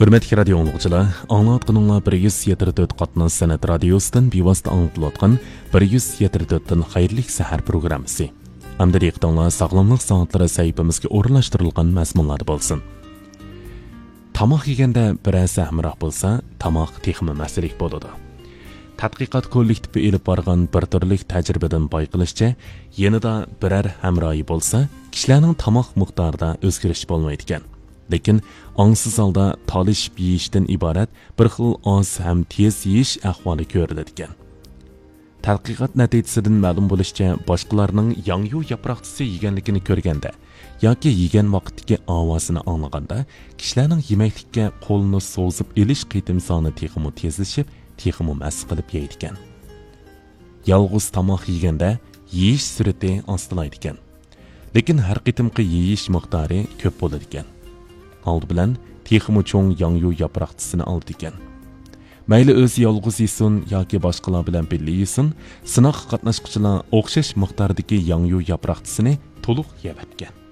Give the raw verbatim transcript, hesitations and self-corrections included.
ھۆرمەتلىك رادىيو ئاڭلىغۇچىلار، ئاڭلاۋاتقىنىڭلار بىر يۈز يەتتە تۆت قاتناش سەنئەت رادىيوسىدىن بىۋاسىتە ئاڭلىتىلىۋاتقان بىر يۈز يەتتە تۆتتىن خەيرلىك سەھەر پروگراممىسى. ئەمدى دىققىتىڭلار ساغلاملىق سائەتلىرى سەھىپىمىزگە ئورۇنلاشتۇرۇلغان مەزمۇنلاردا بولسۇن. تاماق يېگەندە بىرەرسى ھەمراھ بولسا، تاماق تېخىمۇ مەززىلىك بولىدۇ. تەتقىقات كوللېكتىپى ئېلىپ بارغان بىر تۈرلۈك تەجرىبىدىن بايقىلىشىچە، يېنىدا بىرەر ھەمراھى بولسا، كىشىلەرنىڭ تاماق مىقدارىدا ئۆزگىرىش بولمايدىكەن. لېكىن ئاڭسىز ھالدا تالىشىپ يېيىشتىن ئىبارەت بىر خىل ئاز ھەم تېز يېيىش ئەھۋالى كۆرۈلىدىكەن. تەتقىقات نەتىجىسىدىن مەلۇم بولۇشىچە، باشقىلارنىڭ ياڭيۇ ياپراقچىسى يېگەنلىكىنى كۆرگەندە ياكى يېگەن ۋاقىتتىكى ئاۋازىنى ئاڭلىغاندا، كىشىلەرنىڭ يېمەكلىككە قولىنى سوزۇپ ئېلىش قېتىم سانى تېخىمۇ تېزلىشىپ، تېخىمۇ مەستە قىلىپ يەيدىكەن. يالغۇز تاماق يېگەندە يېيىش سۈرئىتى ئاستىلايدىكەن. لېكىن ھەر قېتىمقى يېيىش مىقدارى كۆپ بولىدىكەن. ئالدى بىلەن تېخىمۇ چوڭ ياڭيۇ ياپراقچىسىنى ئالىدىكەن. مەيلى ئۆزى يالغۇز يېسۇن ياكى باشقىلار بىلەن بىللە يېسۇن، سىناققا قاتناشقۇچىلار ئوخشاش مىقداردىكى ياڭيۇ ياپراقچىسىنى تولۇق يەۋەتكەن.